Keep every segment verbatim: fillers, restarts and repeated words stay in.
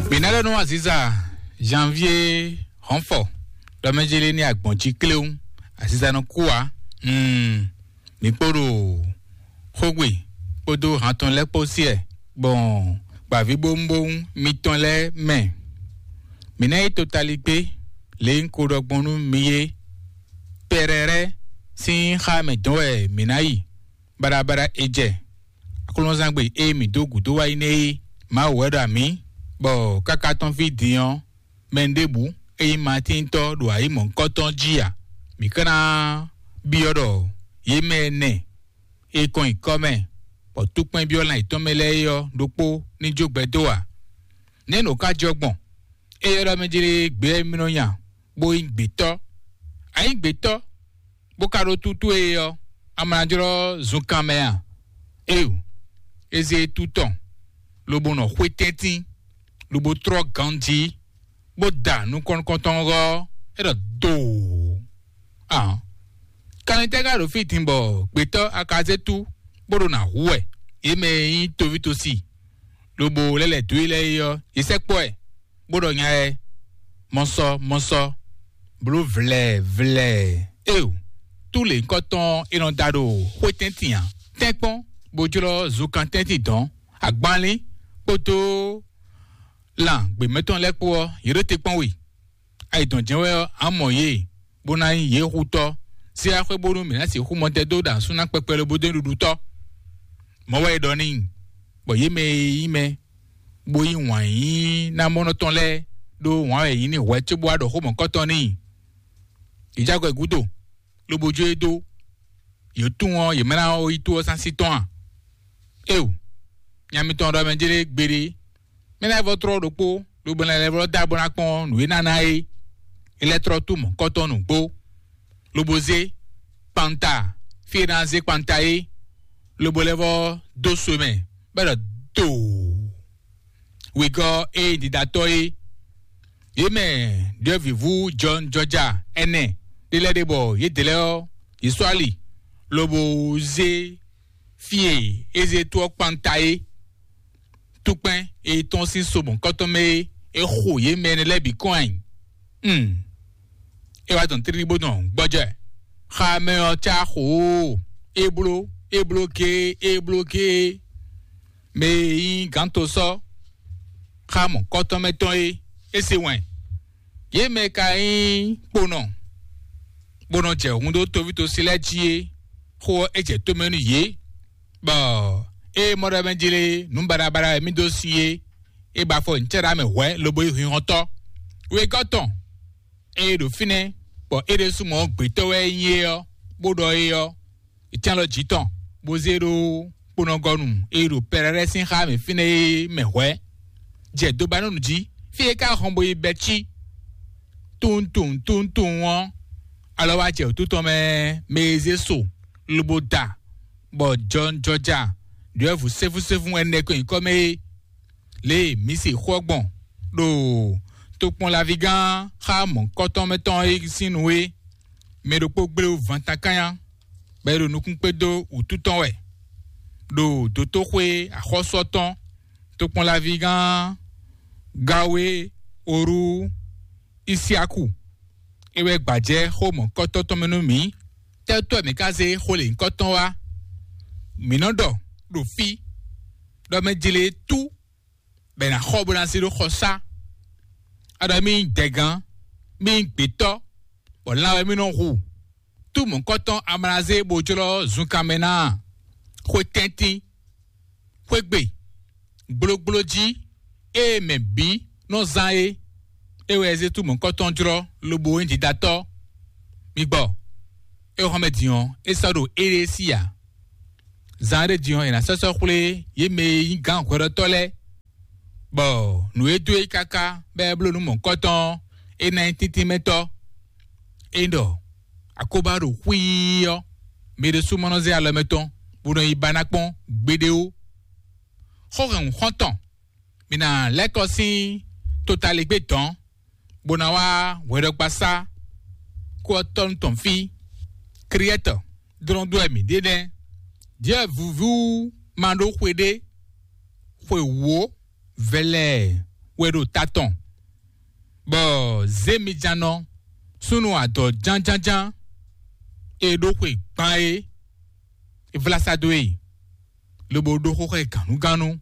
Mǐ ná ɖɔ nú aziza Janvier Hɔnfɔ ɖɔ mɛ jélé ní agbɔ̌n jí kléwún, aziza nɔ kú ǎ. Mm, mǐ kpo ɖo xógbe kpódó han tɔn lɛ́ɛ kpó sí ɛ gbɔn gbǎvíbówúnbówún mitɔn lɛ́ɛ mɛ. Mǐ ná yi totaligbé lě e un ko ɖɔ gbɔn nú mi é. Pɛrɛrɛ sín xá mɛ dɔn wɛ mǐ ná yi. Baɖabaɖa e jɛ aklúnɔzángbe e mǐ dó gǔdo wá yi nɛ́ é. Mawu wɛ ɖo amǐ, bɔ káká tɔn fí din ɔ́, mɛ ɖěbǔ e nyí Matíntɔ́ ɖo ayǐ mɔ̌hunkɔtɔn jí ǎ. Mǐ ka ná byɔ́ ɖɔ yě mɛ ɛnɛ e kɔn nyi kɔ́ mɛ, bɔ túkpɛ́n byɔ́ lan yětɔn mɛ lɛ́ɛ é ɔ́ ɖokpó ní jó gbɛ dó ǎ. Nɛ̌ nǔ ka jɔ gbɔn? É ylɔ́ mɛ jlé gbě wɛ mì nɔ nya, bó nyí gbětɔ́. A nyǐ gbětɔ́, bó ka ɖó tútú e ɔ́, a ma ná jlɔ́ zunkan mɛ a? Éeǒ, é zé tú tɔn, lobo nɔ xwé tɛ́ntin, lobo tlɔ́ ganjí, bó da nukɔn nukɔntɔn ɔ́, é ɖɔ doo. Ahɔn, kanlin tɛ́ ka ɖo fí din bɔ gbětɔ́ Akazétu bó ɖo nǎ hu wɛ? Yě mɛ e nyí tovítosi, lobo lɛ́ lɛ̌ dó e lɛ́ɛ é ɔ́, yě sɛkpɔ́ ɛ, bó ɖɔ nya ɛ, mɔsɔ mɔsɔ, bló vlɛɛ vlɛɛ. Éeǒ, tú lě nyǐkɔ tɔn e nɔ da ɖo xwé tɛ́ntin ǎ. Tɛ́nkpɔ́n, bó jlɔ́ zunkan tɛ́ntin dɔ̌n, agbanlín kpódó lan gběmɛtɔn lɛ́ɛ kpó ɔ́, yě ɖo te kpɔ́n we. Ayǐ dɔn jɛ́n wɛ ɔ́, a mɔ yě, bó ná nyí yě xutɔ́. Sɛ́ axwé bónú mǐ ná sixú mɔtɛn dó ɖo asú ná kpɛkpɛ lobo dó nyí ɖuɖutɔ́. Mɔ̌ wɛ è ɖɔ n'i, bɔ yě mɛ e nyí mɛ, bó yí wǎn yí ná mɔnɔ tɔn lɛ́ɛ ɖó wǎn wɛ è yí n'i hwɛ̌ cóbó wá ɖɔ xó mɔ̌kɔtɔn n'i. Yě jɛ agɔ gúdo, lobo jó e dó. Yě tunwun ɔ́, yě mɛ ná ɔ́ yi tó ɔ́ sín así tɔn a? Éeǒ, nya mitɔn ɖɔ mɛ jlé gbeɖé. Mɛ lɛ́ɛ vɔ tlɔ́ ɖokpó, lobo lɛ́ lɛ́ vɔ dó abɔ ná kpɔ́n nǔ e ná ná é. É lɛ́ tlɔ́ tú mɔ̌kɔtɔn nǔgbó, lobo zé kpanta fí e ná zé kpanta é, lobo lɛ́ vɔ dó so mɛ, bɔ é ɖɔ doo. Wegɔ́ e ɖiɖatɔ́ é. Yě mɛ ɖyɔ̌vǐvú Jɔn Jɔja ɛnɛ ɖé lɛ́ɛ ɖe bɔ yědɛɛ lɛ́ɛ ɔ́, yě sɔ́ ali, lobo zé fí e é zé tó ɔ́ kpanta é. Túkpɛ́n e tɔ́n sín so mɔ̌kɔtɔn mɛ é, é xo yě mɛ énɛ́ lɛ́ɛ bǐ kɔn ayǐ. Mm. É wá dɔn tlílí bó dɔn gbɔjɛ. Xa mɛ ɔ́ cá xo ó, é bló, é bló géé, é bló géé. Mɛ e nyí gǎnto sɔ́ xá mɔ̌kɔtɔn mɛ tɔn é, é se wɛn. Yě mɛ ka nyí kponɔ, bó nɔ jɛ hun dó toví tosi lɛ́ɛ jí é, xó ɔ́ é jɛ tomɛ nú yě, bɔ ée mɔ ɖɔ mɛ jlé nǔ baɖabaɖa e mì dó sin é, é ba afɔ nyǐcɛ́ɖá mɛ hwɛ̌ lobo yi hinhɔntɔ́. Wegɔ́ tɔn, ée ɖo fínɛ́, bɔ é ɖésú mɔ gbětɔ́ wɛ é nyí é ɔ́, bó ɖɔ é ɔ́, è cán lɔ jǐ tɔn, bó zé ɖó kponɔgɔnu e ɖo Pɛrɛlɛ́ sín xá mɛ fínɛ́ é mɛ hwɛ̌, jɛ dobanúnu jí, fí e é ka hɔn bo yi Bɛcí. Tunwun tunwun tunwun tunwun ɔ́, alɔ wá jɛ wǔtu tɔn mɛ, mɛ e zé so lobo da, bɔ jɔnjɔja ɖyɔ̌vǔ sɛ́fúsɛ́fú ɛnɛ ko nyǐkɔ mɛ é. Lě e mǐ se xó ɔ́ gbɔn ɖo tokpɔnlavígán xá mɔ̌kɔtɔn mɛ tɔn é sín nu é, mɛ ɖokpó gblé wú vantankanya, bɔ é ɖo nukún kpé dó wǔtu tɔn wɛ, ɖo dotóxwé axɔ́sú ɔ́ tɔn, tokpɔnlavígán Gawe Orú Isiaku. É wɛ gbajɛ xó mɔ̌kɔtɔn tɔn mɛ nú mǐ. Tɛ́tɔ́ mǐ ka zé xó lě nyǐkɔ tɔn wá? Mǐ nɔ ɖɔ ɖo fí ɖɔ mɛ jlé tú bɔ è nǎ xɔ bó ná zé ɖó xɔsá. A ɖɔ mì nyí dɛgán, mì nyí gbětɔ́, bɔ lan wɛ mì nɔ hu. Tú mɔ̌kɔtɔn amlazé bó jlɔ́ zunkan mɛ ná a? Xwe tɛ́ntin, xwé gbe, gblógbló jí, ée mɛ bǐ nɔ zán é. É wɛ zé tú mɔ̌kɔtɔn jlɔ́ lobo nyí didatɔ́. Mi gbɔ, é xɔ́mɛ din ɔ́, é sɔ́ ɖo éɖée sí ǎ. Zan ɖé din ɔ́, è nǎ sɔ́ sɔ́ xwlé yě mɛ e nyí gǎn hwɛɖɔtɔ́ lɛ́ɛ, bɔ nǔ e dó e káká bɔ é bló nú mɔ̌hunkɔtɔn ɔ́, é ná nyí tíntín mɛ tɔ́. É ɖɔ akóbá ɖo xwíí ɔ́, mɛ ɖésú ma nɔ zé alɔ mɛtɔn bó nɔ yi ba ná kpɔ́n gbeɖé ó. Xó hɛn xɔ́ntɔn, mǐ ná lɛ́ kɔ sín totaligbé dɔ̌n, bó ná wá hwɛɖɔgbasá kó ɔ́ tɔ́ nú tɔn fí. Kriɛ́tɔ dlɔ́n dó wɛ mǐ ɖe nɛ́. Jɛ vǔvú ma ɖó xwe ɖé, xwe wǒ vɛlɛɛ wɛ ɖo ta tɔn, bɔ zěmijannɔ súnnu adɔ jánjánján e ɖó xwe gban é, é vlá sá dó e, lobo ɖó xó xá ɛ gǎnnugánnu.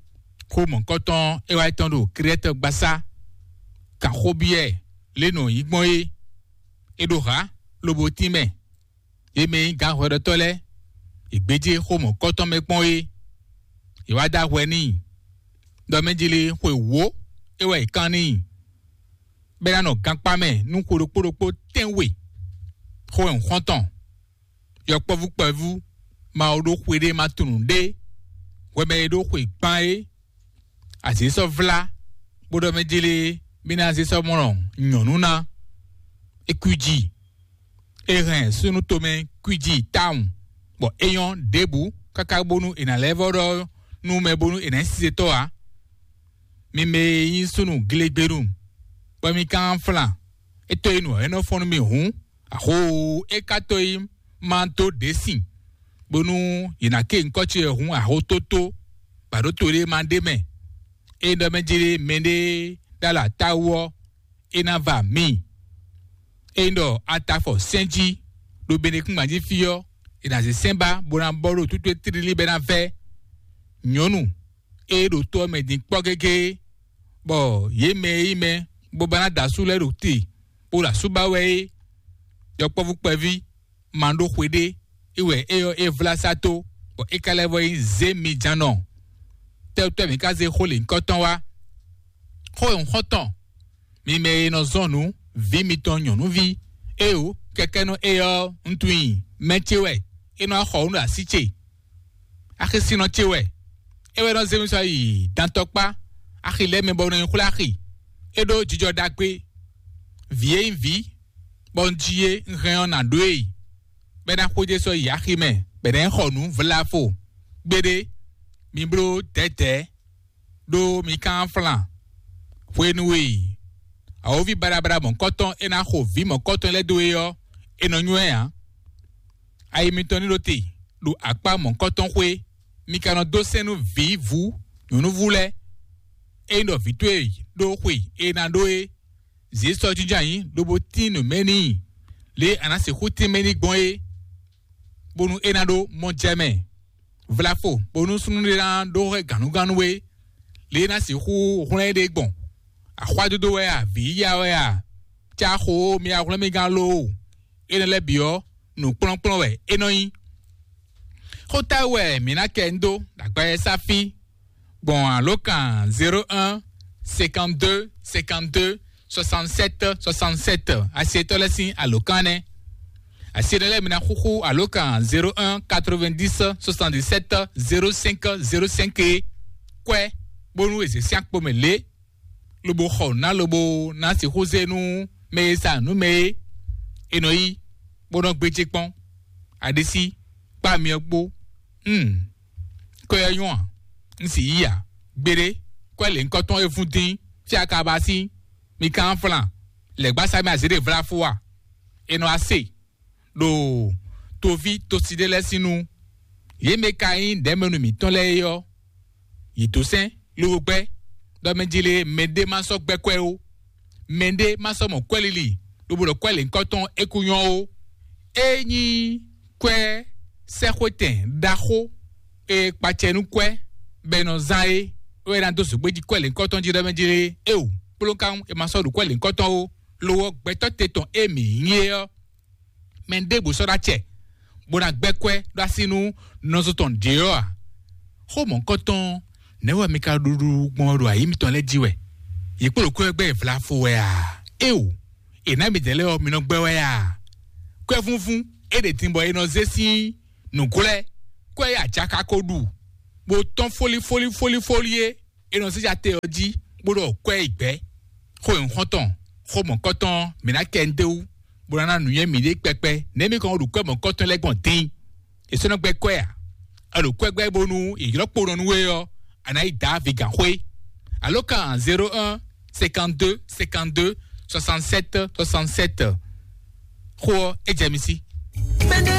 Xó mɔ̌kɔtɔn é wá yi tɔn ɖo Krɛ́tɔ́ gbasá, kan xó byɔ́ ɛ lě nɔ nyí gbɔn é. É ɖo hǎ, lobo tínmɛ. Yě mɛ e nyí gǎnhwɛɖɔtɔ́ lɛ́ɛ, è gbéjé xó mɔ̌kɔtɔn mɛ kpɔ́n é. È wá dó ahwɛ n'i, ɖɔ mɛ jlé xwe wǒ é wɛ è kán n'i, bɔ é ná nɔ gankpá mɛ nú xwe ɖokpó ɖokpó tɛ́nwe. Xó e un xɔ́n tɔn, yɔkpɔ́vú kpɛvú, Mawu ɖó xwe ɖé ma tunwun ɖé, hwɛ mɛ e ɖó xwe gban é, azě sɔ́ vlá, bó ɖɔ mɛ jlé mì ná zé sɔ́ mɔ nyɔ̌nu ná. É kwíji, é hɛn súnnu tomɛ kwíji tawun, bɔ é nyɔ́ ɖěbǔ káká bónú è nǎ lɛ́ vɔ́ ɖɔ nú mɛ bónú è nǎ nyí sizetɔ́ ǎ. Mi mɛ e nyí súnnu glégbénu, bɔ mi ka nɔ flan, é tó yi nǔ ɔ́, é nɔ fɔ́n nú mi hǔn, axó e ka tó yi ma dó ɖě sin, bónú yě ná ké nyǐkɔ ce wɛ hǔn axó tótó, bɔ aɖǒ to ɖé ma ɖ'é mɛ. Ényí ɖɔ mɛ jlé mɛɖé ɖó alɔ atáwú ɔ́, é ná va mǐ. Ényí ɖɔ a ta afɔ sɛ́n jí ɖo benekúngban jí fí ɔ́, è nǎ zé sɛ́n ba bó ná bɔ ɖo tútú e tlílí bɔ é ná vɛ́. Nyɔ̌nu e ɖo to ɔ́ mɛ din kpɔ́ gégé, bɔ yě mɛ e nyí mɛ bó ba ná da asú lɛ́ɛ ɖo te, bó ɖo asú ba wɛ é, yɔkpɔ́vú kpɛví ma ɖó xwe ɖé, é wɛ é ɔ́ é vlá sá tó, bɔ é ka lɛ́ vɔ nyí zě mi ján nɔ. Tɛ́wútɔ́ mǐ ka zé xó lěhunkɔtɔn wá? Xó e un xɔ́n tɔn, mi mɛ e nɔ zɔn nǔ vǐ mitɔn nyɔ̌nuví, éeǒ, kɛkɛ́nɔ é ɔ́, un tunwun i mɛ ce wɛ, é nɔ wá xɔ nǔ ɖo así ce. Axisinnɔ ce wɛ, é wɛ nɔ zé mi sɔ́ yi dantɔkpá axi lɛ́ɛ mɛ bɔ un nɔ yi xwlé axi. É ɖó jijɔ ɖagbe, vǐ e nyí vǐ, bɔ un ji é, un hɛn ɔ́ nǎ ɖó e, bɔ é ná xwedó sɔ́ yi axi mɛ, bɔ è nǎ yi xɔ nǔ vlafo. Gbeɖé, mi bló dɛ̌dɛ̌, ɖó mi ka nɔ flan. Hwenu e awǒvi baɖabaɖa mɔ̌kɔtɔn e ná xo vǐ mɔ̌kɔtɔn lɛ́ɛ dó é ɔ́, è nɔ nywɛ́ ǎ. Ayi mitɔn ní ɖo te ɖo akpá mɔ̌kɔtɔn xwé, mi ka nɔ dó sɛ́n nú vǐ vú nyɔ̌núvú lɛ́ɛ. Ényí ɖɔ vǐ towe ɖó xwe e ná ɖó é, zě sɔ́ jínjɔ́n ayǐ lobo tín nǔ mɛ n'i, lě e a nǎ sixú tín mɛ n'i gbɔn é, bónú é ná ɖó mɔ jɛ mɛ. Vlafo bónú súnnu ɖé ná ɖó hwɛ gǎnnugánnu é, lě e ná sixú hwlɛ́n éɖée gbɔn. Axwádódó wɛ a, vǐ yíyá wɛ a, cá xo mi wá hwlɛ́n mì gán loo, énɛ́ lɛ́ɛ bǐ ɔ́, nǔkplɔ́nkplɔ́n wɛ é nɔ nyí. Xó táwú wɛ mǐ ná kɛ ń dó ɖo agbawɛsá fí gbɔn alǒkan zéro un cinquante-deux cinquante-deux soixante-sept soixante-sept, asietɔ́ lɛ́ɛ sín alǒkan nɛ́. Asi énɛ́ lɛ́ɛ mi ná xúxú alǒkan zéro un quatre-vingt-dix soixante-dix-sept zéro cinq zéro cinq é, kwɛ́, bónú è zě sín akpo mɛ lě, lobo xɔ nǔ ná lobo ná sixú zé nú mɛ e sa nǔ mɛ é, è nɔ yí, bó nɔ́ gbéjé kpɔ́n. Aɖisí, kpá myɔ kpó. Hmm. Kɔ ɛ nyɔ́ a? Un sì yí a? Gbeɖé, kɔ ɛ lě ŋkɔ tɔn e vún dín, fí a ka ba sín, mi ka nɔ flan, lɛ̌gbásá mɛ azě ɖe vlá fó a? È nɔ wá se ɖo toví tosi ɖé lɛ́ɛ sín nu. Yě mɛ ka nyí ɖɛ̌mɛnu mǐtɔn lɛ́ɛ é ɔ́, yě dó sɛ́n lobo gbɛ́, ɖɔ mɛ jlé mɛɖé má sɔ́ gbɛ́ kwɛ́ ó, mɛɖé má sɔ́ mɔ kwɛ́ lili, lobo ɖɔ kwɛ́ lěhunkɔtɔn é kú nyɔ́ ó. É nyí kwɛ́ sɛ́xwetɛn ɖaxó e kpacɛ nú kwɛ́ bɔ è nɔ zán é, é wɛ ná dó zǒgbé jí kwɛ́ lěhunkɔtɔn jí ɖɔ mɛ jlé é o, kplɔ́nkan é ma sɔ́ ɖo kwɛ́ lěhunkɔtɔn ó, lo ɔ́ gbɛtɔ́ te tɔn e mǐ nyí é ɔ́, mɛ ɖěbǔ sɔ́ ɖó acɛ, bó ná gbɛ́ kwɛ́ ɖó así nú nɔzo tɔn ɖě ɔ́ a? Xó mɔ̌hunkɔtɔn nɛ̌ wɛ mi ka ɖuɖu gbɔn ɖo ayǐ mitɔn lɛ́ɛ jí wɛ? Yě kpo ɖo kwɛ́ gbɛ́ vlafo wɛ a? Éeǒ, è nǎ midɛɛ lɛ́ɛ ɔ́, mi nɔ gbɛ́ wɛ a? Kwɛ́vúnvún é ɖe din bɔ è nɔ zé sín nǔglɛ́, kwɛ́ e ajaka ko ɖu, bó tɔ́n fólífólífólífólí é, è nɔ zé ja te ɔ́ jí, bó ɖɔ kwɛ́ yi gbɛ̌. Xó e un xɔ́n tɔn, xó mɔ̌kɔtɔn mǐ ná kɛ ndéwú, bó ná ná nǔnywɛ́ mǐɖée kpɛkpɛ, nɛ̌ mi kɔn ɖo kwɛ́ mɔ̌kɔtɔn lɛ́ɛ gbɔn din? È sɔ́ nɔ gbɛ́ kwɛ́ a? È ɖo kwɛ́ gbɛ́ bónú è ylɔ́ kpo nɔ nú we ɔ́, a nǎ yi dǎ vigǎnxwé. Alǒkan zéro un cinquante-deux cinquante-deux soixante-sept soixante-sept. Xó ɔ́, é jɛ mi sí.